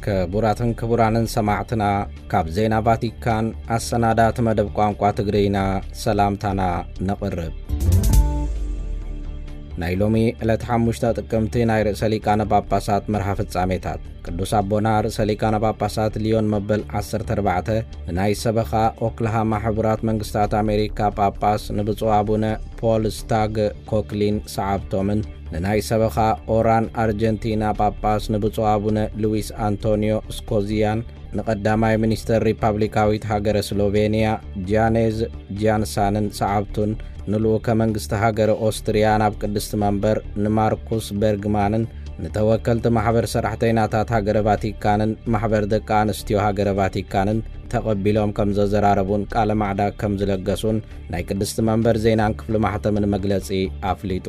ክቡራትን ክቡራንን ሰማዕትና፣ ካብ ዜና ቫቲካን ኣሰናዳእቲ መደብ ቋንቋ ትግርይና ሰላምታና ነቕርብ። ናይ ሎሚ ዕለት ሓሙሽተ ጥቅምቲ ናይ ርእሰ ሊቃነ ጳጳሳት መርሃ ፍጻሜታት። ቅዱስ ኣቦና ርእሰ ሊቃነ ጳጳሳት ሊዮን መበል ዓሰርተ ኣርባዕተ ንናይ ሰበኻ ኦክላሃማ ሕቡራት መንግስታት ኣሜሪካ ጳጳስ ንብፁዕ ኣቡነ ፖል ስታግ ኮክሊን ሰዓብቶምን ንናይ ሰበኻ ኦራን ኣርጀንቲና ጳጳስ ንብፁዕ ኣቡነ ሉዊስ ኣንቶኒዮ ስኮዚያን፣ ንቐዳማይ ሚኒስተር ሪፓብሊካዊት ሃገረ ስሎቬንያ ጃኔዝ ጃንሳንን ሰዓብቱን፣ ንልኡከ መንግስቲ ሃገረ ኦስትርያ ናብ ቅድስቲ መንበር ንማርኩስ በርግማንን፣ ንተወከልቲ ማሕበር ሰራሕተይናታት ሃገረ ቫቲካንን ማሕበር ደቂ ኣንስትዮ ሃገረ ቫቲካንን ተቐቢሎም ከም ዘዘራረቡን ቃለ ማዕዳ ከም ዝለገሱን ናይ ቅድስቲ መንበር ዜናን ክፍሊ ማሕተምን መግለጺ ኣፍሊጡ።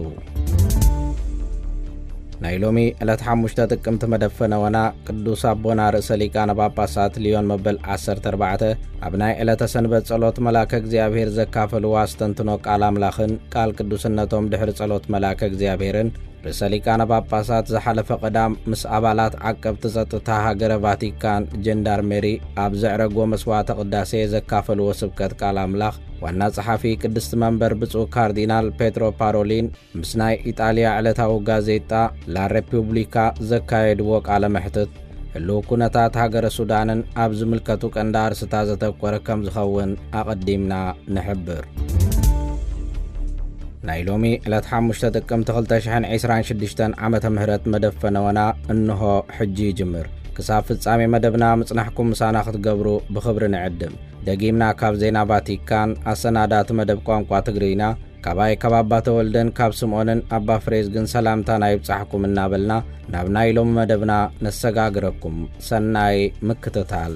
ናይ ሎሚ ዕለት ሓሙሽተ ጥቅምቲ መደብ ፈነወና፣ ቅዱስ ኣቦና ርእሰ ሊቃነ ጳጳሳት ሊዮን መበል ዓሰርተ ኣርባዕተ ኣብ ናይ ዕለተ ሰንበት ጸሎት መልኣከ እግዚኣብሔር ዘካፈልዎ ኣስተንትኖ ቃል ኣምላኽን ቃል ቅዱስነቶም ድሕሪ ጸሎት መልኣከ እግዚኣብሔርን ርእሰ ሊቃነ ጳጳሳት ዝሓለፈ ቀዳም ምስ ኣባላት ዓቀብቲ ጸጥታ ሃገረ ቫቲካን ጀንዳርሜሪ ኣብ ዘዕረጎ መስዋዕተ ቅዳሴ ዘካፈልዎ ስብከት ቃል ኣምላኽ ዋና ጸሓፊ ቅድስቲ መንበር ብፁዕ ካርዲናል ፔትሮ ፓሮሊን ምስ ናይ ኢጣልያ ዕለታዊ ጋዜጣ ላ ሬፑብሊካ ዘካየድዎ ቃለ መሕትት፣ ህልው ኩነታት ሃገረ ሱዳንን ኣብ ዝምልከቱ ቀንዲ ኣርስታት ዘተኮረ ከም ዝኸውን ኣቐዲምና ንሕብር። ናይ ሎሚ ዕለት ሓሙሽተ ጥቅምቲ ክልተ ሽሕን ዕስራን ሽዱሽተን ዓመተ ምህረት መደብ ፈነወና እንሆ ሕጂ ይጅምር። ክሳብ ፍጻሜ መደብና ምጽናሕኩም ምሳና ክትገብሩ ብኽብሪ ንዕድም። ደጊምና ካብ ዜና ቫቲካን ኣሰናዳእቲ መደብ ቋንቋ ትግርይና፣ ካባይ ካብ ኣባ ተወልደን ካብ ስምዖንን ኣባ ፍሬዝግን ሰላምታና ይብጻሕኩም እናበልና ናብ ናይ ሎሚ መደብና ነሰጋግረኩም። ሰናይ ምክትታል።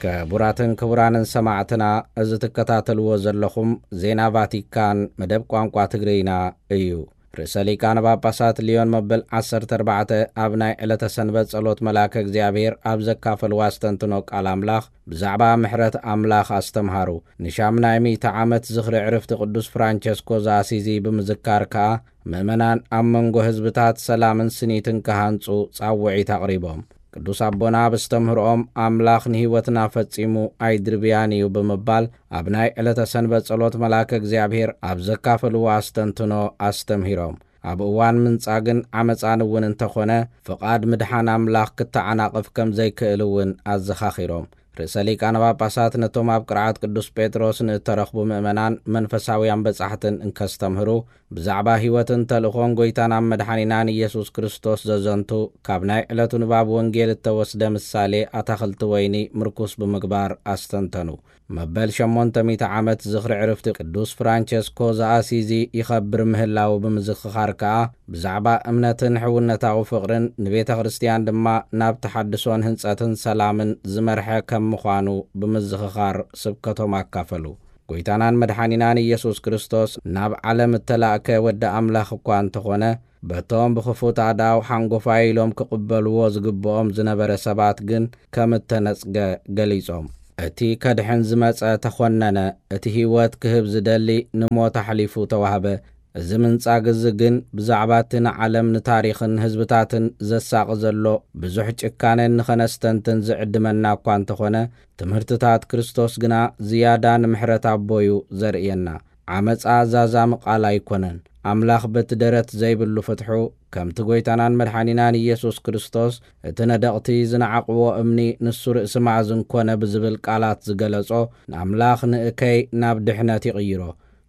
ክቡራትን ክቡራንን ሰማዕትና፣ እዚ ትከታተልዎ ዘለኹም ዜና ቫቲካን መደብ ቋንቋ ትግርይና እዩ። ርእሰ ሊቃነ ጳጳሳት ሊዮን መበል ዓሰርተ ኣርባዕተ ኣብ ናይ ዕለተ ሰንበት ጸሎት መልኣከ እግዚኣብሔር ኣብ ዘካፈልዎ ኣስተንትኖ ቃል ኣምላኽ ብዛዕባ ምሕረት ኣምላኽ ኣስተምሃሩ። ንሻምናይ ሚእቲ ዓመት ዝኽሪ ዕርፍቲ ቅዱስ ፍራንቸስኮ ዘኣሲዚ ብምዝካር ከኣ ምእመናን ኣብ መንጎ ህዝብታት ሰላምን ስኒትን ክሃንጹ ጻውዒት ኣቕሪቦም። ቅዱስ ኣቦና ኣብ ኣስተምህሮኦም ኣምላኽ ንህይወትና ፈጺሙ ኣይድርብያን እዩ ብምባል ኣብ ናይ ዕለተ ሰንበት ጸሎት መልኣከ እግዚኣብሔር ኣብ ዘካፈልዎ ኣስተንትኖ ኣስተምሂሮም። ኣብ እዋን ምንጻግን ዓመጻን እውን እንተኾነ ፍቓድ ምድሓን ኣምላኽ ክተዓናቕፍ ከም ዘይክእል እውን ኣዘኻኺሮም። ርእሰ ሊቃነ ጳጳሳት ነቶም ኣብ ቅርዓት ቅዱስ ጴጥሮስ ንእተረኽቡ ምእመናን መንፈሳውያን በጻሕትን እንከስተምህሩ ብዛዕባ ህይወትን ተልእኾን ጐይታናን መድሓኒናን ኢየሱስ ክርስቶስ ዘዘንቱ ካብ ናይ ዕለቱ ንባብ ወንጌል እተወስደ ምሳሌ ኣታኽልቲ ወይኒ ምርኩስ ብምግባር ኣስተንተኑ። መበል ሸሞንተ ሚእቲ ዓመት ዝኽሪ ዕርፍቲ ቅዱስ ፍራንቸስኮ ዘኣሲዚ ይኸብር ምህላዉ ብምዝኽኻር ከኣ ብዛዕባ እምነትን ሕውነታዊ ፍቕርን ንቤተ ክርስትያን ድማ ናብ ተሓድሶን ህንጸትን ሰላምን ዝመርሐ ከም ምዃኑ ብምዝኽኻር ስብከቶም ኣካፈሉ። ጐይታናን መድሓኒናን ኢየሱስ ክርስቶስ ናብ ዓለም እተላእከ ወዲ ኣምላኽ እኳ እንተኾነ በቶም ብኽፉት ኣእዳው ሓንጎፋይ ኢሎም ክቕበልዎ ዝግብኦም ዝነበረ ሰባት ግን ከም እተነጽገ ገሊጾም። እቲ ከድሕን ዝመጸ ተኾነነ፣ እቲ ህይወት ክህብ ዝደሊ ንሞት ኣሕሊፉ ተዋህበ። እዚ ምንጻግ እዚ ግን ብዛዕባ እቲ ንዓለም ንታሪኽን ህዝብታትን ዘሳቒ ዘሎ ብዙሕ ጭካነ ንኸነስተንትን ዝዕድመና እኳ እንተኾነ ትምህርትታት ክርስቶስ ግና ዝያዳ ንምሕረት ኣቦዩ ዘርእየና። ዓመጻ ዛዛሚ ቃል ኣይኮነን። ኣምላኽ በቲ ደረት ዘይብሉ ፍትሑ ከምቲ ጐይታናን መድሓኒናን ኢየሱስ ክርስቶስ እቲ ነደቕቲ ዝነዓቕዎ እምኒ ንሱ ርእሲ ማእዝን ኮነ ብዝብል ቃላት ዝገለጾ ንኣምላኽ ንእከይ ናብ ድሕነት ይቕይሮ።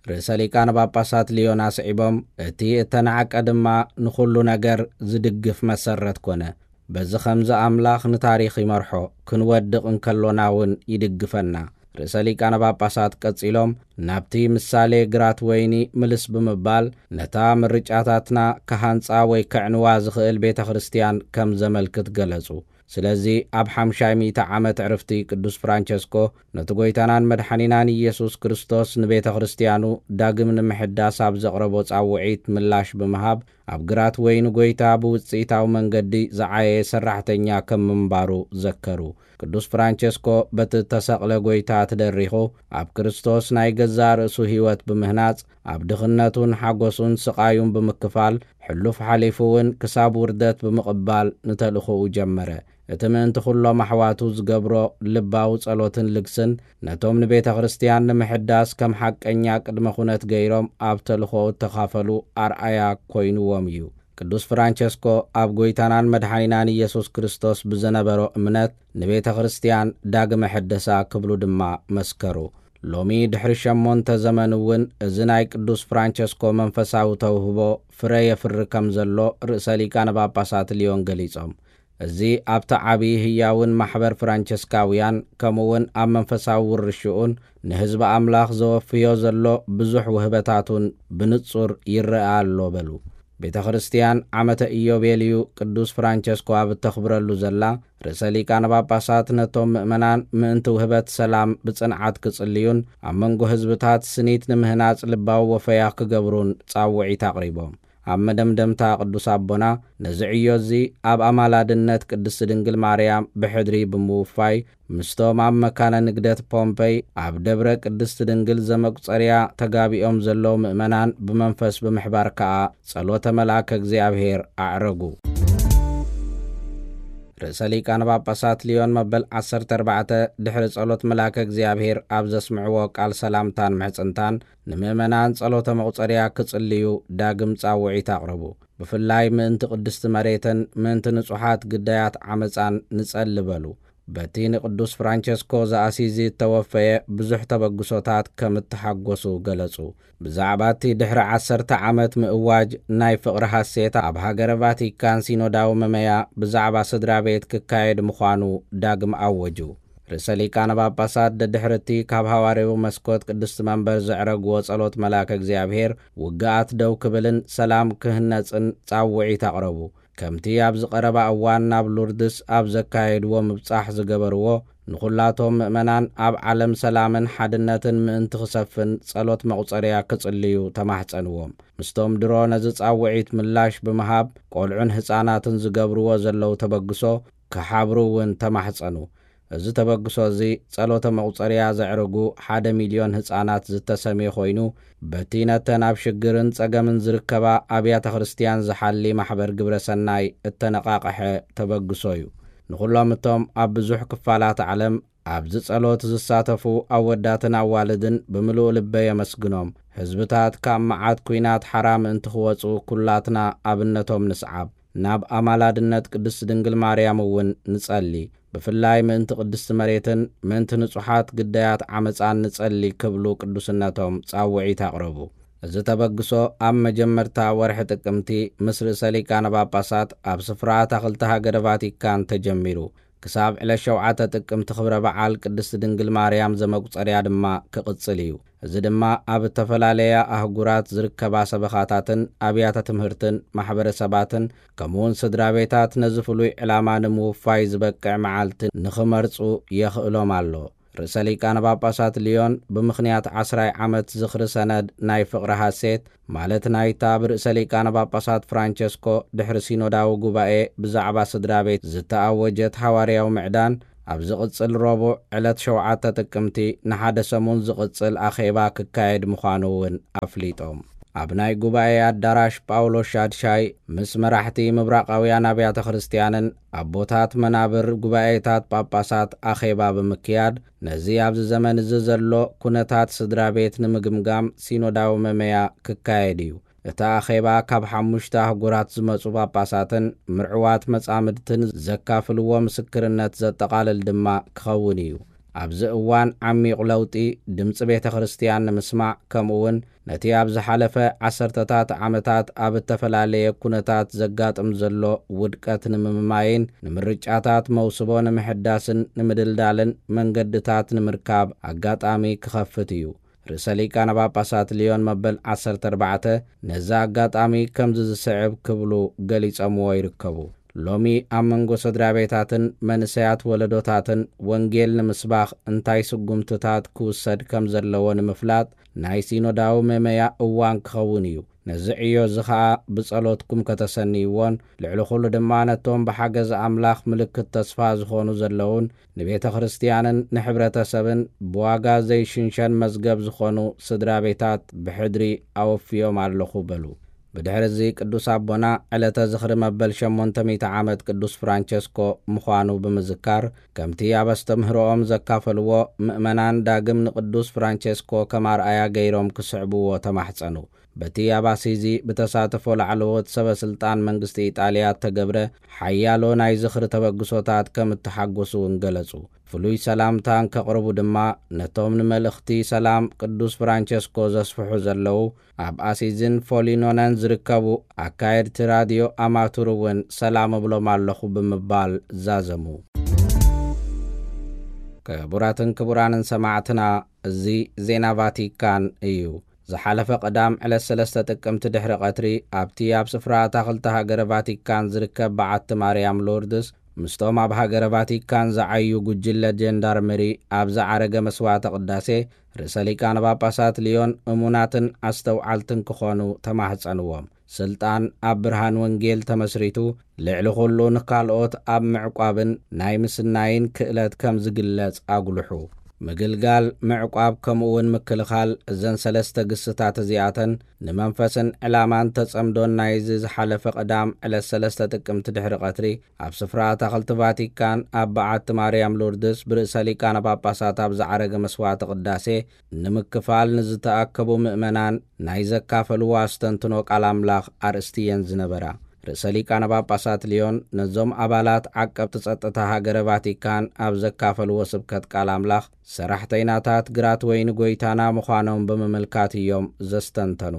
ርእሰ ሊቃነ ጳጳሳት ልዮን ኣስዒቦም እቲ እተናዕቀ ድማ ንኹሉ ነገር ዝድግፍ መሰረት ኮነ። በዚ ኸምዚ ኣምላኽ ንታሪኽ ይመርሖ፣ ክንወድቕ እንከሎና እውን ይድግፈና። ርእሰ ሊቃነ ጳጳሳት ቀጺሎም ናብቲ ምሳሌ ግራት ወይኒ ምልስ ብምባል ነታ ምርጫታትና ክሃንጻ ወይ ከዕንዋ ዝኽእል ቤተ ክርስትያን ከም ዘመልክት ገለጹ። ስለዚ ኣብ ሓምሻይ ሚእቲ ዓመት ዕርፍቲ ቅዱስ ፍራንቸስኮ ነቲ ጐይታናን መድሓኒናን ኢየሱስ ክርስቶስ ንቤተ ክርስትያኑ ዳግም ንምሕዳስ ኣብ ዘቕረቦ ጻውዒት ምላሽ ብምሃብ ኣብ ግራት ወይኒ ጐይታ ብውጽኢታዊ መንገዲ ዝዓየየ ሰራሕተኛ ከም ምንባሩ ዘከሩ። ቅዱስ ፍራንቸስኮ በቲ እተሰቕለ ጐይታ ተደሪኹ፣ ኣብ ክርስቶስ ናይ ገዛእ ርእሱ ህይወት ብምህናጽ፣ ኣብ ድኽነቱን ሓጎሱን ስቓዩን ብምክፋል፣ ሕሉፍ ሓሊፉ እውን ክሳብ ውርደት ብምቕባል ንተልእኾኡ ጀመረ። እቲ ምእንቲ ኩሎም ኣሕዋቱ ዝገብሮ ልባዊ ጸሎትን ልግስን፣ ነቶም ንቤተ ክርስቲያን ንምሕዳስ ከም ሓቀኛ ቅድመ ኩነት ገይሮም ኣብ ተልእኾኡ እተኻፈሉ ኣርኣያ ኮይንዎም እዩ። ቅዱስ ፍራንቸስኮ ኣብ ጐይታናን መድሓኒናን ኢየሱስ ክርስቶስ ብዘነበሮ እምነት ንቤተ ክርስቲያን ዳግመ ሐደሳ ክብሉ ድማ መስከሩ። ሎሚ ድሕሪ ሸሞንተ ዘመን እውን እዚ ናይ ቅዱስ ፍራንቸስኮ መንፈሳዊ ተውህቦ ፍረ የፍሪ ከም ዘሎ ርእሰ ሊቃነ ጳጳሳት ሊዮን ገሊጾም። እዚ ኣብቲ ዓቢ ህያውን ማሕበር ፍራንቸስካውያን ከምኡውን ኣብ መንፈሳዊ ውርሽኡን ንህዝቢ ኣምላኽ ዘወፍዮ ዘሎ ብዙሕ ውህበታቱን ብንጹር ይረኣ ኣሎ በሉ። ቤተ ክርስቲያን ዓመተ ኢዮቤልዩ ቅዱስ ፍራንቸስኮ ኣብ እተኽብረሉ ዘላ፣ ርእሰ ሊቃነ ጳጳሳት ነቶም ምእመናን ምእንቲ ውህበት ሰላም ብጽንዓት ክጽልዩን ኣብ መንጎ ህዝብታት ስኒት ንምህናጽ ልባዊ ወፈያ ክገብሩን ጻውዒት ኣቕሪቦም። ኣብ መደምደምታ ቅዱስ ኣቦና ነዚ ዕዮ እዚ ኣብ ኣማላድነት ቅድስቲ ድንግል ማርያም ብሕድሪ ብምውፋይ ምስቶም ኣብ መካነ ንግደት ፖምፐይ ኣብ ደብረ ቅድስቲ ድንግል ዘመቁጸርያ ተጋቢኦም ዘለዉ ምእመናን ብመንፈስ ብምሕባር ከኣ ጸሎተ መልኣከ እግዚኣብሔር ኣዕረጉ። ርእሰ ሊቃነ ጳጳሳት ሊዮን መበል ዓሰርተ ኣርባዕተ ድሕሪ ጸሎት መልኣከ እግዚኣብሔር ኣብ ዘስምዕዎ ቃል ሰላምታን ምሕጽንታን ንምእመናን ጸሎተ መቑጸርያ ክጽልዩ ዳግም ጻውዒት ኣቕረቡ። ብፍላይ ምእንቲ ቅድስቲ መሬትን ምእንቲ ንጹሓት ግዳያት ዓመጻን ንጸሊ በሉ። በቲ ንቅዱስ ፍራንቸስኮ ዘኣሲዚ እተወፈየ ብዙሕ ተበግሶታት ከም እተሓጎሱ ገለጹ። ብዛዕባ እቲ ድሕሪ ዓሰርተ ዓመት ምእዋጅ ናይ ፍቕሪ ሃሴት ኣብ ሃገረ ቫቲካን ሲኖዳዊ መመያ ብዛዕባ ስድራ ቤት ክካየድ ምዃኑ ዳግም ኣወጁ። ርእሰ ሊቃነ ጳጳሳት ደድሕሪ እቲ ካብ ሃዋርያዊ መስኮት ቅድስቲ መንበር ዘዕረግዎ ጸሎት መልኣከ እግዚኣብሔር ውግኣት ደው ክብልን ሰላም ክህነጽን ጻውዒት ኣቕረቡ። ከምቲ ኣብዚ ቀረባ እዋን ናብ ሉርድስ ኣብ ዘካየድዎ ምብጻሕ ዝገበርዎ፣ ንኹላቶም ምእመናን ኣብ ዓለም ሰላምን ሓድነትን ምእንቲ ክሰፍን ጸሎት መቑጸርያ ክጽልዩ ተማሕጸንዎም። ምስቶም ድሮ ነዚ ጻውዒት ምላሽ ብምሃብ ቆልዑን ህጻናትን ዝገብርዎ ዘለዉ ተበግሶ ክሓብሩ እውን ተማሕጸኑ። እዚ ተበግሶ እዚ ጸሎተ መቑጸርያ ዘዕረጉ ሓደ ሚልዮን ህጻናት ዝተሰምየ ኮይኑ፣ በቲ ነተን ኣብ ሽግርን ጸገምን ዝርከባ ኣብያተ ክርስትያን ዝሓሊ ማሕበር ግብረ ሰናይ እተነቓቕሐ ተበግሶ እዩ። ንኹሎም እቶም ኣብ ብዙሕ ክፋላት ዓለም ኣብዚ ጸሎት ዝሳተፉ ኣወዳትን ኣዋልድን ብምሉእ ልበ የመስግኖም። ህዝብታት ካብ መዓት ኲናት ሓራ ምእንቲ ክወጹ ኩላትና ኣብነቶም ንስዓብ። ናብ ኣማላድነት ቅድስቲ ድንግል ማርያም እውን ንጸሊ። ብፍላይ ምእንቲ ቅድስቲ መሬትን ምእንቲ ንጹሓት ግዳያት ዓመጻን ንጸሊ ክብሉ ቅዱስነቶም ጻውዒት ኣቕረቡ። እዚ ተበግሶ ኣብ መጀመርታ ወርሒ ጥቅምቲ ምስ ርእሰ ሊቃነ ጳጳሳት ኣብ ስፍራ ኣታኽልቲ ሃገረ ቫቲካን ተጀሚሩ። ክሳብ ዕለት ሸውዓተ ጥቅምቲ ክብረ በዓል ቅድስቲ ድንግል ማርያም ዘመቁጸርያ ድማ ክቕጽል እዩ። እዚ ድማ ኣብ እተፈላለያ ኣህጉራት ዝርከባ ሰበኻታትን ኣብያተ ትምህርትን ማሕበረሰባትን ከምኡውን ስድራ ቤታት ነዚ ፍሉይ ዕላማ ንምውፋይ ዝበቅዕ መዓልቲ ንኽመርጹ የኽእሎም ኣሎ። ርእሰ ሊቃነ ጳጳሳት ሊዮን ብምኽንያት ዓስራይ ዓመት ዝኽሪ ሰነድ ናይ ፍቕሪ ሃሴት፣ ማለት ናይታ ብርእሰ ሊቃነ ጳጳሳት ፍራንቸስኮ ድሕሪ ሲኖዳዊ ጉባኤ ብዛዕባ ስድራ ቤት ዝተኣወጀት ሃዋርያዊ ምዕዳን፣ ኣብ ዝቕጽል ረቡዕ ዕለት ሸውዓተ ጥቅምቲ ንሓደ ሰሙን ዝቕጽል ኣኼባ ክካየድ ምዃኑ እውን ኣፍሊጦም። ኣብ ናይ ጉባኤ ኣዳራሽ ጳውሎስ ሻድሻይ ምስ መራሕቲ ምብራቓውያን ኣብያተ ክርስትያንን ኣቦታት መናብር ጉባኤታት ጳጳሳት ኣኼባ ብምክያድ፣ ነዚ ኣብዚ ዘመን እዚ ዘሎ ኩነታት ስድራ ቤት ንምግምጋም ሲኖዳዊ መመያ ክካየድ እዩ። እቲ ኣኼባ ካብ ሓሙሽተ ኣህጉራት ዝመጹ ጳጳሳትን ምርዕዋት መጻምድትን ዘካፍልዎ ምስክርነት ዘጠቓልል ድማ ክኸውን እዩ። ኣብዚ እዋን ዓሚቕ ለውጢ ድምጺ ቤተ ክርስትያን ንምስማዕ፣ ከምኡውን ነቲ ኣብ ዝሓለፈ ዓሰርተታት ዓመታት ኣብ እተፈላለየ ኩነታት ዘጋጥም ዘሎ ውድቀት ንምምማይን ንምርጫታት መውስቦ ንምሕዳስን ንምድልዳልን መንገድታት ንምርካብ ኣጋጣሚ ክኸፍት እዩ። ርእሰ ሊቃነ ጳጳሳት ሊዮን መበል ዓሰርተ ኣርባዕተ ነዚ ኣጋጣሚ ከምዚ ዝስዕብ ክብሉ ገሊጾምዎ ይርከቡ። ሎሚ ኣብ መንጎ ስድራ ቤታትን መንእሰያት ወለዶታትን ወንጌል ንምስባኽ እንታይ ስጉምትታት ክውሰድ ከም ዘለዎ ንምፍላጥ ናይ ሲኖዳዊ መመያ እዋን ክኸውን እዩ። ነዚ ዕዮ እዚ ኸኣ ብጸሎትኩም ከተሰንይዎን፣ ልዕሊ ኹሉ ድማ ነቶም ብሓገዝ ኣምላኽ ምልክት ተስፋ ዝኾኑ ዘለዉን ንቤተ ክርስቲያንን ንሕብረተሰብን ብዋጋ ዘይሽንሸን መዝገብ ዝኾኑ ስድራ ቤታት ብሕድሪ ኣወፍዮም ኣለኹ በሉ። ብድሕሪ እዚ ቅዱስ ኣቦና ዕለተ ዝኽሪ መበል ሸሞንተ ሚእቲ ዓመት ቅዱስ ፍራንቸስኮ ምዃኑ ብምዝካር፣ ከምቲ ኣብ ኣስተምህሮኦም ዘካፈልዎ፣ ምእመናን ዳግም ንቅዱስ ፍራንቸስኮ ከም ኣርኣያ ገይሮም ክስዕብዎ ተማሕጸኑ። በቲ ኣብ ኣሲዚ ብተሳትፎ ላዕለዎት ሰበ ስልጣን መንግስቲ ኢጣልያ እተገብረ ሓያሎ ናይ ዝኽሪ ተበግሶታት ከም እተሓጎሱ እውን ገለጹ። ፍሉይ ሰላምታ እንከቕርቡ ድማ፣ ነቶም ንመልእኽቲ ሰላም ቅዱስ ፍራንቸስኮ ዘስፍሑ ዘለዉ ኣብ ኣሲዝን ፎሊኖነን ዝርከቡ ኣካየድቲ ራድዮ ኣማቱር እውን ሰላም እብሎም ኣለኹ ብምባል ዛዘሙ። ክቡራትን ክቡራንን ሰማዕትና፣ እዚ ዜና ቫቲካን እዩ። ዝሓለፈ ቀዳም ዕለት ሰለስተ ጥቅምቲ ድሕሪ ቀትሪ፣ ኣብቲ ኣብ ስፍራ ኣታኽልቲ ሃገረ ቫቲካን ዝርከብ በዓቲ ማርያም ሎርድስ፣ ምስቶም ኣብ ሃገረ ቫቲካን ዝዓዩ ጉጅለ ጀንዳርመሪ ኣብ ዝዓረገ መስዋዕተ ቅዳሴ፣ ርእሰ ሊቃነ ጳጳሳት ልዮን እሙናትን ኣስተውዓልትን ክኾኑ ተማህጸንዎም። ስልጣን ኣብ ብርሃን ወንጌል ተመስሪቱ፣ ልዕሊ ኹሉ ንካልኦት ኣብ ምዕቋብን ናይ ምስናይን ክእለት ከም ዝግለጽ ኣጉልሑ። ምግልጋል፣ ምዕቋብ፣ ከምኡ እውን ምክልኻል፣ እዘን ሰለስተ ግስታት እዚኣተን ንመንፈስን ዕላማን ተጸምዶን ናይዚ ዝሓለፈ ቀዳም ዕለት ሰለስተ ጥቅምቲ ድሕሪ ቀትሪ ኣብ ስፍራ ኣታኽልቲ ቫቲካን ኣብ በዓቲ ማርያም ሎርድስ ብርእሰ ሊቃነ ጳጳሳት ኣብ ዝዓረገ መስዋዕተ ቅዳሴ ንምክፋል ንዝተኣከቡ ምእመናን ናይ ዘካፈልዎ ኣስተንትኖ ቃል ኣምላኽ ኣርእስቲ እየን ዝነበራ። ርእሰ ሊቃነ ጳጳሳት ልዮን ነዞም ኣባላት ዓቀብቲ ጸጥታ ሃገረ ቫቲካን ኣብ ዘካፈልዎ ስብከት ቃል ኣምላኽ፣ ሰራሕተይናታት ግራት ወይኒ ጐይታና ምዃኖም ብምምልካት እዮም ዘስተንተኑ።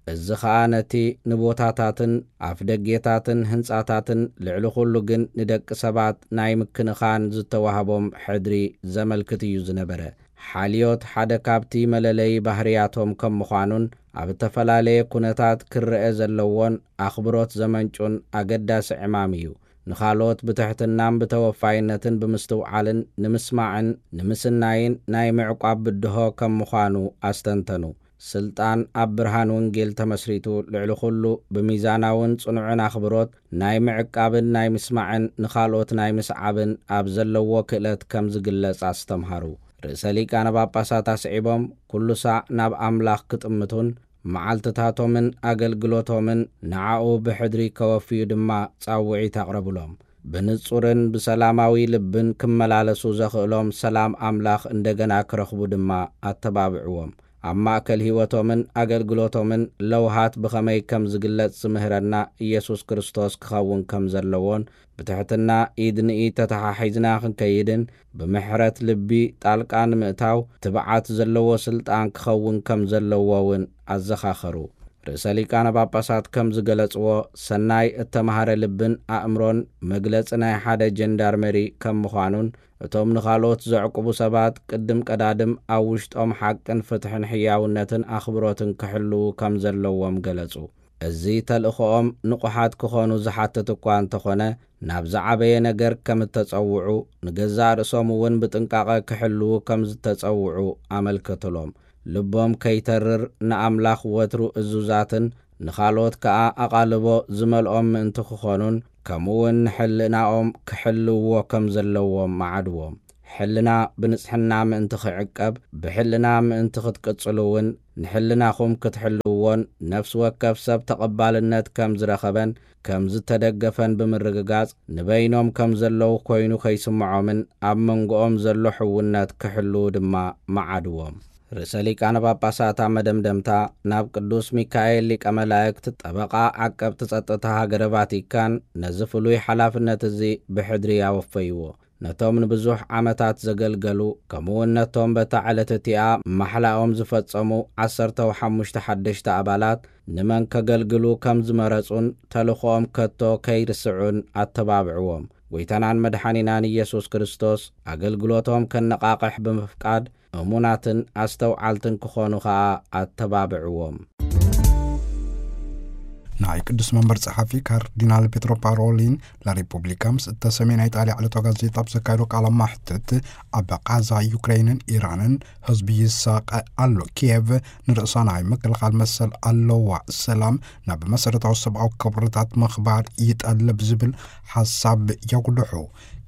እዚ ኸኣ ነቲ ንቦታታትን ኣፍደጌታትን ህንጻታትን ልዕሊ ኹሉ ግን ንደቂ ሰባት ናይ ምክንኻን ዝተዋህቦም ሕድሪ ዘመልክት እዩ ዝነበረ። ሓልዮት ሓደ ካብቲ መለለዪ ባህርያቶም ከም ምዃኑን ኣብ እተፈላለየ ኩነታት ክረአ ዘለዎን ኣኽብሮት ዘመንጩን ኣገዳሲ ዕማም እዩ። ንኻልኦት ብትሕትናን ብተወፋይነትን ብምስትውዓልን ንምስማዕን ንምስናይን ናይ ምዕቋብ ብድሆ ከም ምዃኑ ኣስተንተኑ። ስልጣን ኣብ ብርሃን ወንጌል ተመስሪቱ፣ ልዕሊ ኹሉ ብሚዛናውን ጽኑዕን ኣኽብሮት ናይ ምዕቃብን ናይ ምስማዕን ንኻልኦት ናይ ምስዓብን ኣብ ዘለዎ ክእለት ከም ዝግለጽ ኣስተምሃሩ። ርእሰ ሊቃነ ጳጳሳት ኣስዒቦም፣ ኩሉ ሳዕ ናብ ኣምላኽ ክጥምቱን መዓልትታቶምን ኣገልግሎቶምን ንዓኡ ብሕድሪ ከወፍዩ ድማ ጻውዒት ኣቕረቡሎም። ብንጹርን ብሰላማዊ ልብን ክመላለሱ ዘኽእሎም ሰላም ኣምላኽ እንደገና ክረኽቡ ድማ ኣተባብዕዎም። ኣብ ማእከል ህይወቶምን ኣገልግሎቶምን ለውሃት ብኸመይ ከም ዝግለጽ ዝምህረና ኢየሱስ ክርስቶስ ክኸውን ከም ዘለዎን፣ ብትሕትና ኢድ ንኢድ ተተሓሒዝና ክንከይድን፣ ብምሕረት ልቢ ጣልቃ ንምእታው ትብዓት ዘለዎ ስልጣን ክኸውን ከም ዘለዎ እውን ኣዘኻኸሩ። ርእሰ ሊቃነ ጳጳሳት ከም ዝገለጽዎ፣ ሰናይ እተማህረ ልብን ኣእምሮን መግለጺ ናይ ሓደ ጀንዳርመሪ ከም ምዃኑን፣ እቶም ንኻልኦት ዘዕቁቡ ሰባት ቅድም ቀዳድም ኣብ ውሽጦም ሓቅን ፍትሕን ሕያውነትን ኣኽብሮትን ክሕልዉ ከም ዘለዎም ገለጹ። እዚ ተልእኾኦም ንቑሓት ክኾኑ ዝሓትት እኳ እንተኾነ፣ ናብ ዝዓበየ ነገር ከም እተጸውዑ፣ ንገዛእ ርእሶም እውን ብጥንቃቐ ክሕልዉ ከም ዝተጸውዑ ኣመልከትሎም። ልቦም ከይተርር፣ ንኣምላኽ ወትሩ እዙዛትን ንኻልኦት ከኣ ኣቓልቦ ዝመልኦም ምእንቲ ክኾኑን፣ ከምኡ እውን ንሕልናኦም ክሕልውዎ ከም ዘለዎም መዓድዎም። ሕልና ብንጽሕና ምእንቲ ክዕቀብ፣ ብሕልና ምእንቲ ክትቅጽሉ እውን ንሕልናኹም ክትሕልውዎን፣ ነፍሲ ወከፍ ሰብ ተቐባልነት ከም ዝረኸበን ከም ዝተደገፈን ብምርግጋጽ፣ ንበይኖም ከም ዘለዉ ኮይኑ ከይስምዖምን ኣብ መንጎኦም ዘሎ ሕውነት ክሕልዉ ድማ መዓድዎም። ርእሰ ሊቃነ ጳጳሳት ኣብ መደምደምታ፣ ናብ ቅዱስ ሚካኤል ሊቀ መላእክት፣ ጠበቓ ዓቀብቲ ጸጥታ ሃገረ ቫቲካን፣ ነዚ ፍሉይ ሓላፍነት እዚ ብሕድሪ ኣወፈይዎ። ነቶም ንብዙሕ ዓመታት ዘገልገሉ፣ ከምኡውን ነቶም በታ ዕለት እቲኣ ማሕላኦም ዝፈጸሙ ዓሰርተው ሓሙሽተ ሓደሽቲ ኣባላት፣ ንመን ከገልግሉ ከም ዝመረጹን ተልእኾኦም ከቶ ከይርስዑን ኣተባብዕዎም። ጐይታናን መድሓኒናን ኢየሱስ ክርስቶስ ኣገልግሎቶም ከነቓቕሕ ብምፍቃድ፣ እሙናትን ኣስተውዓልትን ክኾኑ ኸኣ ኣተባብዕዎም። ናይ ቅዱስ መንበር ጸሓፊ ካርዲናል ፔትሮ ፓሮሊን ላሪፑብሊካ ምስ እተሰምየ ናይ ጣልያ ዕለታዊ ጋዜጣ ኣብ ዘካየዶ ቃለ ማሕትት፣ ኣብ ቃዛ ዩክሬንን ኢራንን ህዝቢ ይሳቐ ኣሎ፣ ኪየቭ ንርእሳ ናይ ምክልኻል መሰል ኣለዋ፣ ሰላም ናብ መሰረታዊ ሰብኣዊ ክብርታት ምኽባር ይጠልብ ዝብል ሓሳብ የጉልሑ።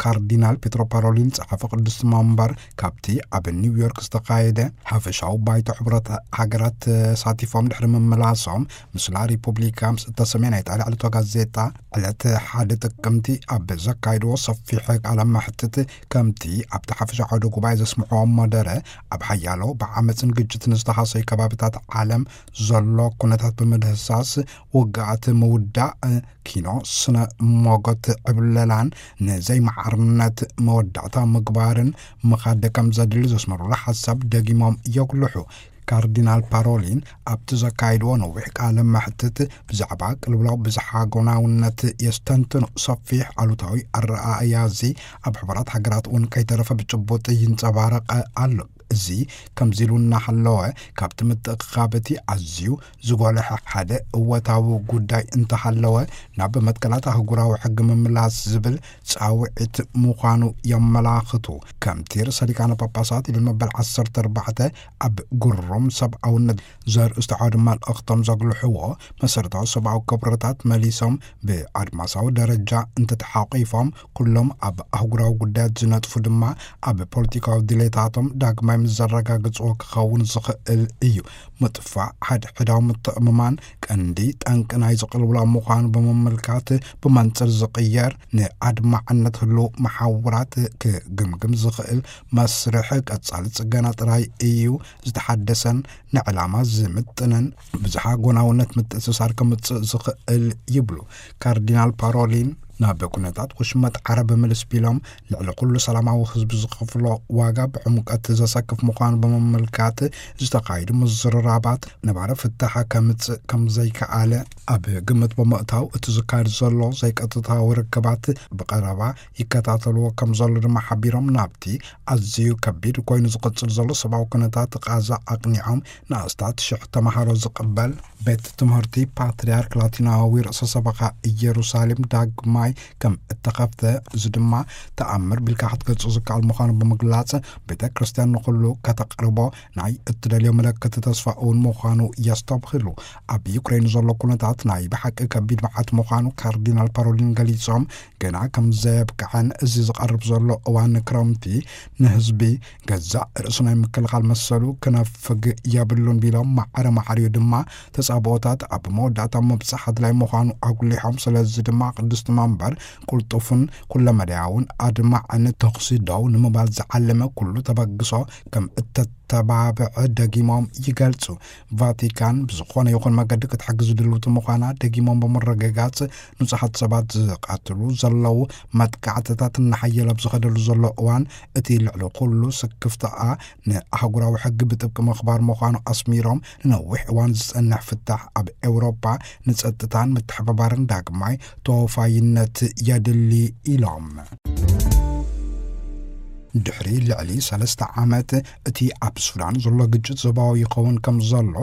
ካርዲናል ፔትሮ ፓሮሊን ጸሓፊ ቅዱስ መንበር ካብቲ ኣብ ኒውዮርክ ዝተኻየደ ሓፈሻዊ ባይቶ ሕብረት ሃገራት ተሳቲፎም ድሕሪ ምምላሶም፣ ምስላ ሪፑብሊካ ምስ እተሰምየ ናይ ጣልያ ዕለታዊ ጋዜጣ፣ ዕለት ሓደ ጥቅምቲ ኣብ ዘካየድዎ ሰፊሕ ቃለ መሕትት፣ ከምቲ ኣብቲ ሓፈሻዊ ዓውደ ጉባኤ ዘስምዕዎ መደረ፣ ኣብ ሓያሎ ብዓመፅን ግጭትን ዝተሃሰዩ ከባቢታት ዓለም ዘሎ ኩነታት ብምድህሳስ፣ ውግኣት ምውዳእ፣ ኪኖ ስነ ሞጎት ዕብለላን ንዘይማዕርነት መወዳእታ ምግባርን ምኻድ ከም ዘድሊ ዘስመሩሉ ሓሳብ ደጊሞም የጉልሑ። ካርዲናል ፓሮሊን ኣብቲ ዘካየድዎ ነዊሕ ቃለ መሕትት፣ ብዛዕባ ቅልውላው ብዝሓጎናውነት የስተንትኑ። ሰፊሕ ኣሉታዊ ኣረኣእያ እዚ ኣብ ሕቡራት ሃገራት እውን ከይተረፈ ብጭቡጥ ይንጸባረቕ ኣሎ። እዚ ከምዚ ኢሉ እናሃለወ፣ ካብቲ ምትእኽኻብ እቲ ኣዝዩ ዝጎልሐ ሓደ እወታዊ ጉዳይ እንተሃለወ፣ ናብ መትከላት ኣህጉራዊ ሕጊ ምምላስ ዝብል ጻውዒት ምዃኑ የመላኽቱ። ከምቲ ርእሰ ሊቃነ ጳጳሳት ልዮን መበል ዓሰርተ ኣርባዕተ ኣብ ግሩም ሰብኣውነት ዘርእስቱ ዓውዲ መልእኽቶም ዘጉልሕዎ፣ መሰረታዊ ሰብኣዊ ክብርታት መሊሶም ብኣድማሳዊ ደረጃ እንተተሓቂፎም፣ ኩሎም ኣብ ኣህጉራዊ ጉዳያት ዝነጥፉ ድማ ኣብ ፖለቲካዊ ድሌታቶም ዳግማይ ምስ ዘረጋግጽዎ ክኸውን ዝኽእል እዩ። ምጥፋእ ሓድሕዳዊ ምትእምማን ቀንዲ ጠንቂ ናይ ዝቕልውላ ምዃኑ ብምምልካት፣ ብመንጽር ዝቕየር ንኣድማዕነት ህሉው መሓውራት ክግምግም ዝኽእል መስርሕ ቀጻሊ ጽገና ጥራይ እዩ ዝተሓደሰን ንዕላማ ዝምጥንን ብዝሓ ጎናውነት ምትእስሳር ከምጽእ ዝኽእል ይብሉ ካርዲናል ፓሮሊን። ናብ ኩነታት ውሽመጥ ዓረብ ምልስ ቢሎም፣ ልዕሊ ኩሉ ሰላማዊ ህዝቢ ዝኸፍሎ ዋጋ ብዕምቀት ዘሰክፍ ምዃኑ ብምምልካት፣ ዝተኻየዱ ምዝርራባት ነባሪ ፍታሕ ከምጽእ ከም ዘይከኣለ ኣብ ግምት ብምእታው፣ እቲ ዝካየድ ዘሎ ዘይቀጥታዊ ርክባት ብቐረባ ይከታተልዎ ከም ዘሎ ድማ ሓቢሮም፣ ናብቲ ኣዝዩ ከቢድ ኮይኑ ዝቕጽል ዘሎ ሰብኣዊ ኩነታት ቃዛ ኣቕኒዖም፣ ንኣስታት ሽሕ ተመሃሮ ዝቕበል ቤት ትምህርቲ ፓትርያርክ ላቲናዊ ርእሰ ሰበኻ ኢየሩሳሌም ዳግማይ ከም እተኸፍተ፣ እዚ ድማ ተኣምር ቢልካ ክትገልጾ ዝከኣል ምዃኑ ብምግላጽ፣ ቤተ ክርስቲያን ንኹሉ ከተቕርቦ ናይ እትደልዮ ምልክት ተስፋ እውን ምዃኑ የስተብህሉ። ኣብ ዩክሬን ዘሎ ኩነታት ናይ ብሓቂ ከቢድ መዓት ምዃኑ ካርዲናል ፓሮሊን ገሊጾም፣ ገና ከም ዘየብቅዐን፣ እዚ ዝቐርብ ዘሎ እዋን ክረምቲ ንህዝቢ ገዛእ ርእሱ ናይ ምክልኻል መሰሉ ክነፍግ የብሉን ቢሎም፣ ማዕረ ማዕሪኡ ድማ ተጻብኦታት ኣብ መወዳእታ ምብጻሕ ኣድላይ ምዃኑ ኣጉሊሖም። ስለዚ ድማ ቅድስቲ መንበር ቁልጡፍን ኩለመዳያውን ኣድማዕን ተኹሲ ደው ንምባል ዝዓለመ ኩሉ ተበግሶ ከም እተተባብዐ ደጊሞም ይገልጹ። ቫቲካን ብዝኾነ ይኹን መገዲ ክትሕግዝ ድልውቲ ምዃና ደጊሞም ብምርግጋጽ፣ ንጹሓት ሰባት ዝቐትሉ ዘለዉ መጥቃዕትታት እናሓየለ ኣብ ዝኸደሉ ዘሎ እዋን፣ እቲ ልዕሊ ኩሉ ስክፍታኣ ንኣህጉራዊ ሕጊ ብጥብቂ ምኽባር ምዃኑ ኣስሚሮም፣ ንነዊሕ እዋን ዝጸንሕ ፍታሕ ኣብ ኤውሮጳ ንጸጥታን ምትሕብባርን ዳግማይ ተወፋይነት የድሊ ኢሎም። ድሕሪ ልዕሊ ሰለስተ ዓመት፣ እቲ ኣብ ሱዳን ዘሎ ግጭት ዞባዊ ይኸውን ከም ዘሎ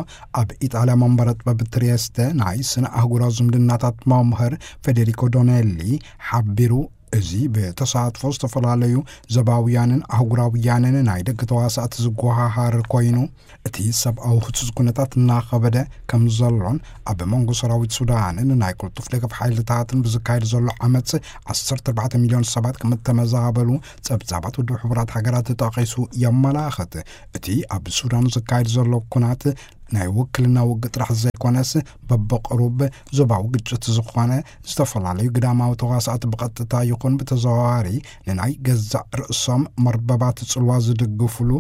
ኣብ ኢጣልያ መንበረ ጥበብ ትሪየስተ ናይ ስነ ኣህጉራዊ ዝምድናታት መምህር ፌዴሪኮ ዶኔሊ ሓቢሩ። እዚ ብተሳትፎ ዝተፈላለዩ ዞባውያንን ኣህጉራውያንን ናይ ደገ ተዋሳእቲ ዝጎሃሃር ኮይኑ፣ እቲ ሰብኣዊ ህጹጽ ኩነታት እናኸበደ ከም ዘሎን፣ ኣብ መንጎ ሰራዊት ሱዳንን ናይ ቅልጡፍ ደገፍ ሓይልታትን ብዝካየድ ዘሎ ዓመጽ፣ ዓሰርተ ኣርባዕተ ሚልዮን ሰባት ከም እተመዛበሉ ጸብጻባት ውድብ ሕቡራት ሃገራት ተጠቒሱ የመላኽት። እቲ ኣብ ሱዳን ዝካየድ ዘሎ ኩናት ናይ ውክልና ውግእ ጥራሕ ዘይኮነስ፣ በብቕሩብ ዞባዊ ግጭት ዝኾነ፣ ዝተፈላለዩ ግዳማዊ ተዋሳእቲ ብቐጥታ ይኹን ብተዘዋዋሪ ንናይ ገዛእ ርእሶም መርበባት ጽልዋ ዝድግፍሉ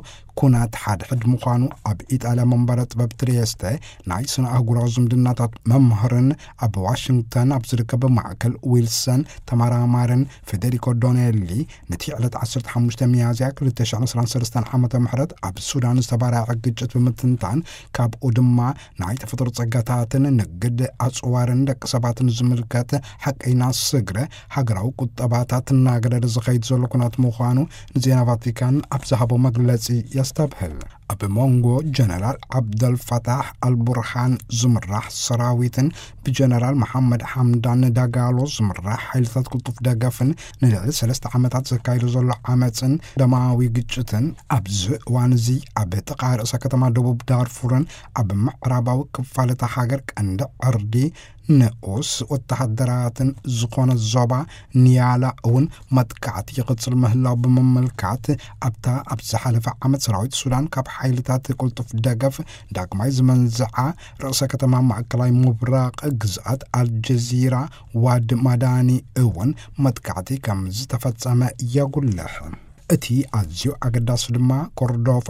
ኩናት ሓድሕድ ምዃኑ ኣብ ኢጣልያ መንበረ ጥበብ ትሪየስተ ናይ ስነ ኣህጉራዊ ዝምድናታት መምህርን ኣብ ዋሽንግተን ኣብ ዝርከብ ማእከል ዊልሰን ተመራማርን ፌዴሪኮ ዶኔሊ፣ ነቲ ዕለት ዓሰርተ ሓሙሽተ ሚያዝያ ክልተ ሽሕን ዕስራን ሰለስተን ዓመተ ምህረት ኣብ ሱዳን ዝተባራዐ ግጭት ብምትንታን፣ ካብኡ ድማ ናይ ተፈጥሮ ጸጋታትን ንግድ ኣጽዋርን ደቂ ሰባትን ዝምልከት ሓቀይና ስግረ ሃገራዊ ቁጠባታት እናገደደ ዝኸይድ ዘሎ ኩናት ምዃኑ ንዜና ቫቲካን ኣብ ዝሃቦ መግለጺ የስተብህል። ኣብ መንጎ ጀነራል ዓብደልፈታሕ ኣልቡርሃን ዝምራሕ ሰራዊትን ብጀነራል መሓመድ ሓምዳን ዳጋሎ ዝምራሕ ሓይልታት ቅልጡፍ ደገፍን ንልዕሊ ሰለስተ ዓመታት ዘካይዶ ዘሎ ዓመፅን ደማዊ ግጭትን፣ ኣብዚ እዋን እዚ ኣብ ጥቓ ርእሰ ከተማ ደቡብ ዳርፉርን ኣብ ምዕራባዊ ክፋል እታ ሃገር ቀንዲ ዕርዲ ንኡስ ወተሃደራትን ዝኾነ ዞባ ኒያላ እውን መጥቃዕቲ ይቕጽል ምህላው ብምምልካት፣ ኣብታ ኣብ ዝሓለፈ ዓመት ሰራዊት ሱዳን ካብ ሓይልታት ቅልጡፍ ደገፍ ዳግማይ ዝመንዝዓ ርእሰ ከተማ ማእከላይ ምብራቕ ግዝኣት ኣልጀዚራ ዋድ ማዳኒ እውን መጥቃዕቲ ከም ዝተፈጸመ የጉልሕ። እቲ ኣዝዩ ኣገዳሲ ድማ ኮርዶፋ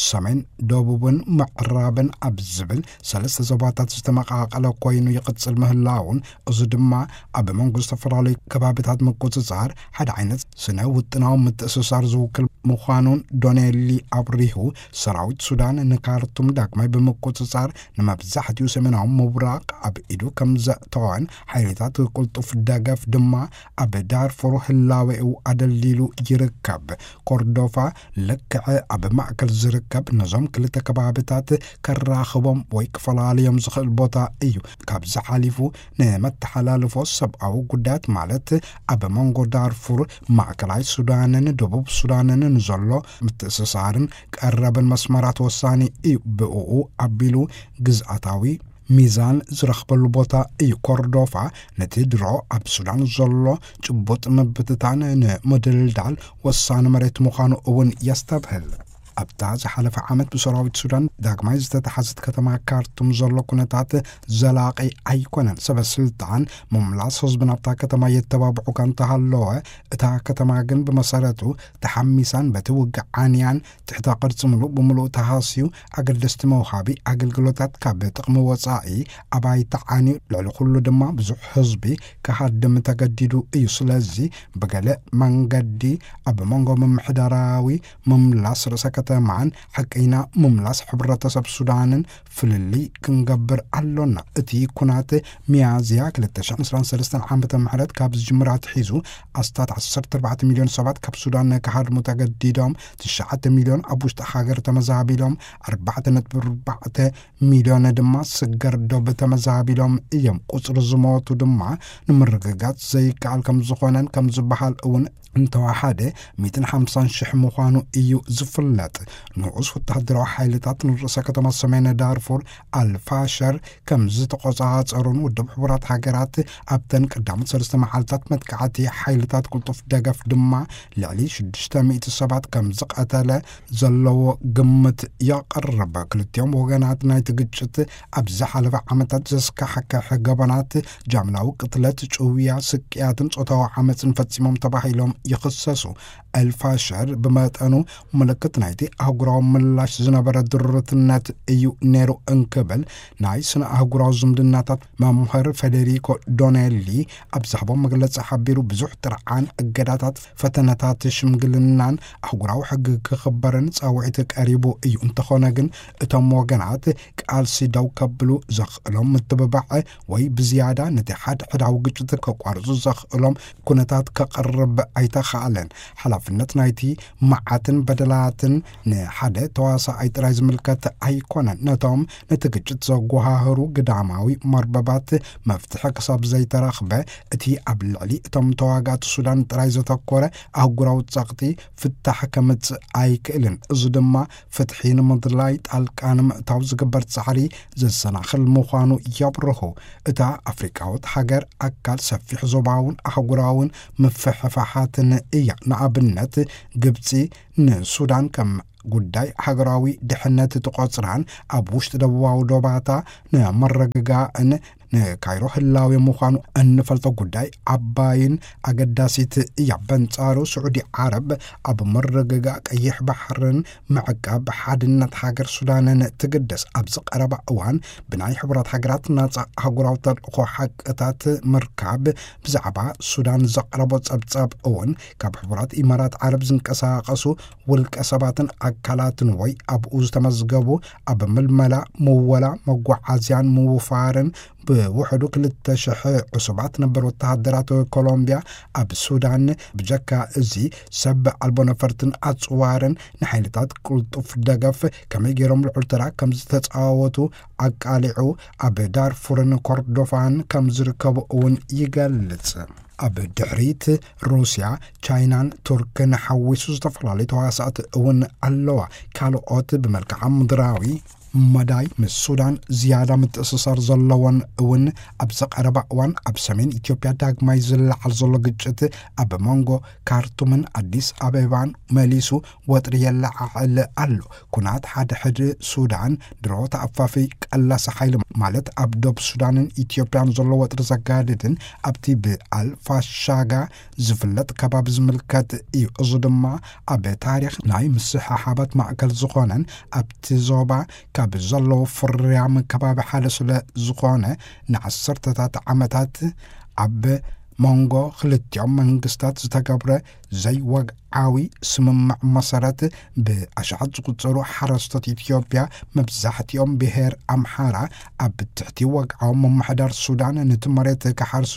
ሰሜን፣ ደቡብን ምዕራብን ኣብ ዝብል ሰለስተ ዞባታት ዝተመቓቐለ ኮይኑ ይቕጽል ምህላውን፣ እዚ ድማ ኣብ መንጎ ዝተፈላለዩ ከባቢታት ምቁጽጻር ሓደ ዓይነት ስነ ውጥናዊ ምትእስሳር ዝውክል ምዃኑን ዶኔሊ ኣብሪሁ። ሰራዊት ሱዳን ንካርቱም ዳግማይ ብምቁጽጻር ንመብዛሕትኡ ሰሜናዊ ምብራቕ ኣብ ኢዱ ከም ዘእተወን፣ ሓይልታት ቅልጡፍ ደገፍ ድማ ኣብ ዳርፉር ህላዌኡ ኣደልዲሉ ይርከብ። ኮርዶፋ ልክዕ ኣብ ማእከል ዝርከብ፣ ነዞም ክልተ ከባብታት ከራኽቦም ወይ ክፈላልዮም ዝኽእል ቦታ እዩ። ካብዚ ሓሊፉ ንመተሓላልፎ ሰብኣዊ ጉዳያት፣ ማለት ኣብ መንጎ ዳርፉር፣ ማእከላይ ሱዳንን ደቡብ ሱዳንን ንዘሎ ምትእስሳርን ቀረብን መስመራት ወሳኒ እዩ። ብእኡ ኣቢሉ ግዝኣታዊ ሚዛን ዝረኽበሉ ቦታ እዩ። ኮርዶፋ ነቲ ድሮ ኣብ ሱዳን ዘሎ ጭቡጥ ምብትታን ንምድልዳል ወሳኒ መሬት ምዃኑ እውን የስተብህል። ኣብታ ዝሓለፈ ዓመት ብሰራዊት ሱዳን ዳግማይ ዝተተሓዘት ከተማ ካርቱም ዘሎ ኩነታት ዘላቒ ኣይኮነን። ሰበ ስልጣን ምምላስ ህዝቢ ናብታ ከተማ የተባብዑ እኳ እንተሃለወ፣ እታ ከተማ ግን ብመሰረቱ ተሓሚሳን በቲ ውግእ ዓንያን ትሕተ ቅርጺ ምሉእ ብምሉእ ተሃስዩ፣ ኣገደስቲ መውሃቢ ኣገልግሎታት ካብ ጥቕሚ ወጻኢ ኣባይቲ ዓንዩ፣ ልዕሊ ኩሉ ድማ ብዙሕ ህዝቢ ክሃድም ተገዲዱ እዩ። ስለዚ ብገለ መንገዲ ኣብ መንጎ ምምሕዳራዊ ምምላስ ርእሰ ከተማን ሓቀይና ምምላስ ሕብረተሰብ ሱዳንን ፍልልይ ክንገብር ኣሎና። እቲ ኩናት ሚያዝያ ክልተ ሽሕን ዕስራን ሰለስተን ዓመተ ምህረት ካብ ዝጅምር ኣትሒዙ፣ ኣስታት ዓሰርተ ኣርባዕተ ሚልዮን ሰባት ካብ ሱዳን ክሃድሙ ተገዲዶም፣ ትሽዓተ ሚልዮን ኣብ ውሽጢ ሃገር ተመዛቢሎም፣ ኣርባዕተ ነጥቢ ኣርባዕተ ሚልዮን ድማ ስገር ዶብ ተመዛቢሎም እዮም። ቁጽሪ ዝሞቱ ድማ ንምርግጋጽ ዘይከኣል ከም ዝኾነን ከም ዝበሃል እውን እንተወሓደ ሚእትን ሓምሳን ሽሕ ምዃኑ እዩ ዝፍለጥ። ንኡስ ወተሃደራዊ ሓይልታት ንርእሰ ከተማ ሰሜን ዳርፉር ኣልፋሸር ከም ዝተቆጻጸሩን ውድብ ሕቡራት ሃገራት ኣብተን ቀዳሞት ሰለስተ መዓልታት መጥቃዕቲ ሓይልታት ቅልጡፍ ደገፍ ድማ ልዕሊ ሽዱሽተ ሚእቲ ሰባት ከም ዝቐተለ ዘለዎ ግምት የቕርብ። ክልቲኦም ወገናት ናይቲ ግጭት ኣብ ዝሓለፈ ዓመታት ዘስካሕክሕ ገበናት ጃምላዊ ቅትለት፣ ጭውያ፣ ስቅያትን ጾታዊ ዓመጽን ፈጺሞም ተባሂሎም ይኽሰሱ። ኤልፋሸር ብመጠኑ ምልክት ናይቲ ኣህጉራዊ ምላሽ ዝነበረ ድርትነት እዩ ነይሩ እንክብል ናይ ስነ ኣህጉራዊ ዝምድናታት መምህር ፌዴሪኮ ዶኔሊ ኣብ ዝሃቦ መግለጺ ሓቢሩ፣ ብዙሕ ጥርዓን፣ እገዳታት፣ ፈተነታት ሽምግልናን ኣህጉራዊ ሕጊ ክኽበርን ጻውዒት ቀሪቡ እዩ። እንተኾነ ግን እቶም ወገናት ቃልሲ ደው ከብሉ ዘኽእሎም ምትብባዕ ወይ ብዝያዳ ነቲ ሓድሕዳዊ ግጭት ከቋርጹ ዘኽእሎም ኩነታት ከቕርብ ኣይተኻእለን። ሓላፍነት ናይቲ መዓትን በደላትን ንሓደ ተዋሳኣይ ጥራይ ዝምልከት ኣይኮነን። ነቶም ነቲ ግጭት ዘጓሃህሩ ግዳማዊ መርበባት መፍትሒ ክሳብ ዘይተረኽበ፣ እቲ ኣብ ልዕሊ እቶም ተዋጋእቲ ሱዳን ጥራይ ዘተኮረ ኣህጉራዊ ጸቕጢ ፍታሕ ከምጽእ ኣይክእልን። እዚ ድማ ፍትሒ ንምድላይ ጣልቃ ንምእታው ዝግበር ጻዕሪ ዘሰናኽል ምዃኑ የብርሁ። እታ ኣፍሪቃዊት ሃገር ኣካል ሰፊሕ ዞባውን ኣህጉራውን ምፍሕፋሓትን እያ። ንኣብነት፣ ግብጺ ንሱዳን ከም ጉዳይ ሃገራዊ ድሕነት ትቖጽራን ኣብ ውሽጢ ደቡባዊ ዶባታ ንምርግጋእን ንካይሮ ህላዌ ምዃኑ እንፈልጦ ጉዳይ ዓባይን ኣገዳሲት እያ። በንጻሩ፣ ስዑዲ ዓረብ ኣብ ምርግጋእ ቀይሕ ባሕርን ምዕቃብ ሓድነት ሃገር ሱዳንን ትግደስ። ኣብዚ ቀረባ እዋን ብናይ ሕቡራት ሃገራት ናጻ ኣህጉራዊ ተልእኾ ሓቅታት ምርካብ ብዛዕባ ሱዳን ዘቕረቦ ጸብጻብ እውን፣ ካብ ሕቡራት ኢማራት ዓረብ ዝንቀሳቐሱ ውልቀ ሰባትን ኣካላትን ወይ ኣብኡ ዝተመዝገቡ ኣብ ምልመላ፣ ምወላ፣ መጓዓዝያን ምውፋርን ብውሕዱ ክልተ ሽሕ ዕሱባት ነበር ወተሃደራት ኮሎምቢያ ኣብ ሱዳን፣ ብጀካ እዚ ሰብ ኣልቦ ነፈርትን ኣጽዋርን ንሓይልታት ቅልጡፍ ደገፍ ከመይ ገይሮም ልዑል ተራ ከም ዝተጻወቱ ኣቃሊዑ፣ ኣብ ዳርፉርን ኮርዶፋን ከም ዝርከቡ እውን ይገልጽ። ኣብ ድሕሪት ሩስያ፣ ቻይናን ቱርክን ሓዊሱ ዝተፈላለዩ ተዋሳእቲ እውን ኣለዋ። ካልኦት ብመልክዓ ምድራዊ መዳይ ምስ ሱዳን ዝያዳ ምትእስሳር ዘለዎን እውን ኣብዚ ቀረባ እዋን ኣብ ሰሜን ኢትዮጵያ ዳግማይ ዝለዓል ዘሎ ግጭት ኣብ መንጎ ካርቱምን ኣዲስ ኣበባን መሊሱ ወጥሪ የለዓዕል ኣሎ። ኩናት ሓድሕድ ሱዳን ድሮ ተኣፋፊ ቀላሲ ሓይሊ ማለት ኣብ ዶብ ሱዳንን ኢትዮጵያን ዘሎ ወጥሪ ዘጋድድን ኣብቲ ብኣልፋሻጋ ዝፍለጥ ከባቢ ዝምልከት እዩ። እዚ ድማ ኣብ ታሪኽ ናይ ምስሕሓባት ማእከል ዝኾነን ኣብቲ ዞባ ካብ ዘለዉ ፍርያም ከባቢ ሓደ ስለ ዝኾነ፣ ንዓሰርተታት ዓመታት ኣብ መንጎ ክልቲኦም መንግስታት ዝተገብረ ዘይወግዓዊ ስምምዕ መሰረት፣ ብኣሽሓት ዝቁጸሩ ሓረስቶት ኢትዮጵያ፣ መብዛሕትኦም ብሄር ኣምሓራ፣ ኣብ ትሕቲ ወግዓዊ ምምሕዳር ሱዳን ነቲ መሬት ክሓርሱ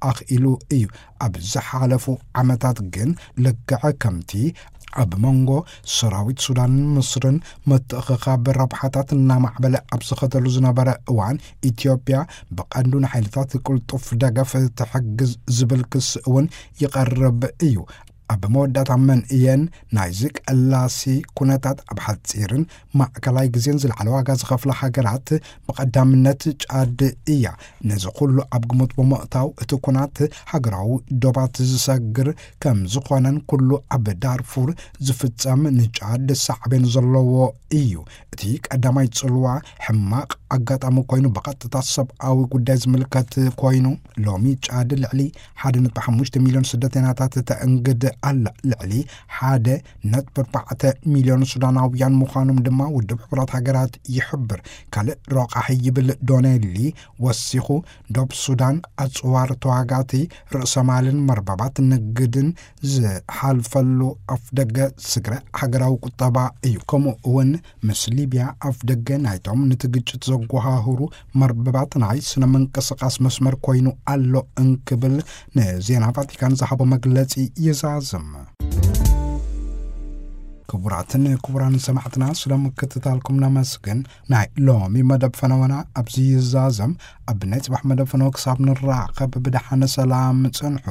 ኣኽኢሉ እዩ። ኣብ ዝሓለፉ ዓመታት ግን፣ ልክዕ ከምቲ ኣብ መንጎ ሰራዊት ሱዳንን ምስርን ምትእኽኻብ ረብሓታት እናማዕበለ ኣብ ዝኸደሉ ዝነበረ እዋን፣ ኢትዮጵያ ብቐንዱ ንሓይልታት ቅልጡፍ ደገፍ ትሕግዝ ዝብል ክሲ እውን ይቐርብ እዩ። ኣብ መወዳእታ መንእየን ናይዚ ቀላሲ ኩነታት ኣብ ሓጺርን ማእከላይ ግዜን ዝለዓለ ዋጋ ዝኸፍላ ሃገራት ብቐዳምነት ጫድ እያ። ነዚ ኩሉ ኣብ ግምት ብምእታው፣ እቲ ኩናት ሃገራዊ ዶባት ዝሰግር ከም ዝኾነን፣ ኩሉ ኣብ ዳርፉር ዝፍጸም ንጫድ ሳዕቤን ዘለዎ እዩ። እቲ ቀዳማይ ጽልዋ ሕማቕ ኣጋጣሚ ኮይኑ፣ ብቐጥታ ሰብኣዊ ጉዳይ ዝምልከት ኮይኑ፣ ሎሚ ጫድ ልዕሊ ሓደ ነጥቢ ሓሙሽተ ሚልዮን ስደተኛታት ተእንግድ ኣላ። ልዕሊ ሓደ ነጥቢ ኣርባዕተ ሚልዮን ሱዳናውያን ምዃኖም ድማ ውድብ ሕቡራት ሃገራት ይሕብር። ካልእ ረቋሒ ይብል ዶኔሊ ወሲኹ፣ ዶብ ሱዳን ኣጽዋር ተዋጋእቲ፣ ርእሰ ማልን መርበባት ንግድን ዝሓልፈሉ ኣፍደገ ስግረ ሃገራዊ ቁጠባ እዩ። ከምኡ እውን ምስ ሊብያ ኣፍደገ ናይቶም ነቲ ግጭት ዘጓሃህሩ መርበባት ናይ ስነ ምንቅስቃስ መስመር ኮይኑ ኣሎ እንክብል ንዜና ቫቲካን ዝሃቦ መግለጺ ይዛዝም። ክቡራትን ክቡራን ሰማዕትና፣ ስለ ምክትታልኩም ነመስግን። ናይ ሎሚ መደብ ፈነወና ኣብዚ ይዛዘም። ኣብ ናይ ጽባሕ መደብ ፈነወ ክሳብ ንራኸብ፣ ብደሓነ ሰላም ጽንሑ።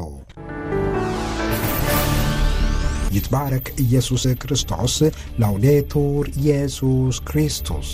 ይትባረክ ኢየሱስ ክርስቶስ። ላውዴቱር ኢየሱስ ክርስቶስ።